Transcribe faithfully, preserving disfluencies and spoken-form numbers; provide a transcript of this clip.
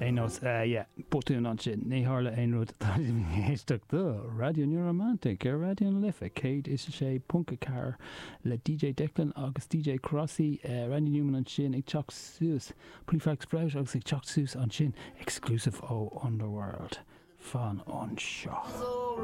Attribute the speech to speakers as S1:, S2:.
S1: Aon nós yeah, botún ansin ní tharla aon rud tá éisteacht do Raidió New Romantic ar Raidió na Life céad is a sé ponc a ceathair le DJ Declan agus DJ Crossy uh, Randy Newman ansin ag teacht suas Prefab Sprout agus ag teacht suas ansin exclusive ó Underworld fan anseo.